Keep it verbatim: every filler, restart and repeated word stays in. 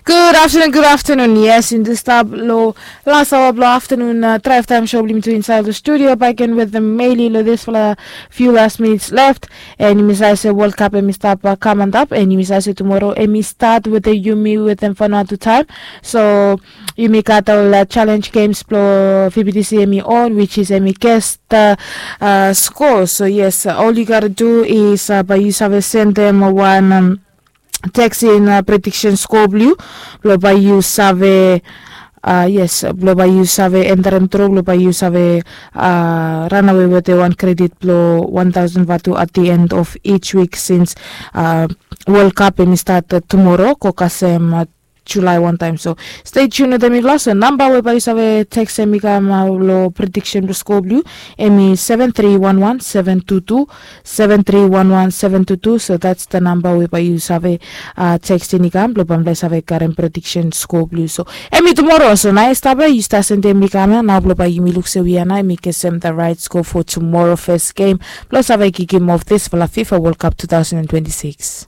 Gud aftenun, gud aftenun. Yes, yumi stap long las aoa blong aftenun, drive time show blong yumi tu insaed long studio back again with the Meli long disfala few last minutes left. And yumi save se World Cup hemi stap kam antap, and yumi save se tumoro hemi start with the yumi with them Vanuatu time. So yumi gat ol challenge games blong V B T C hemi on, which is hemi guess the score. So yes, all you gotta do is bae yu save sendem wan text in prediction score blong yu, blong bae yu save, yes, blong bae yu save enterem tru, blong bae yu save ranawe wetem wan credit blong one thousand vatu at the end of each week, since World Cup hemi start tumoro go kasem July wantaem. So stay tuned wetem mifala. So namba we bae yu save tekstem i kam long prediction blong score blong yu, hemi seven three one one seven two two, seven three one one seven two two. So that's the namba we bae yu save tekstem i kam blong bae mifala i save karem prediction score blong yu. So hemi tumoro, so naoia stap ia, yu stap sendem i kam ia nao blong bae yumi luk se we ia nao hemi kesem the right score for tomorrow first game blong save kikim off disfala FIFA World Cup two thousand and twenty-six.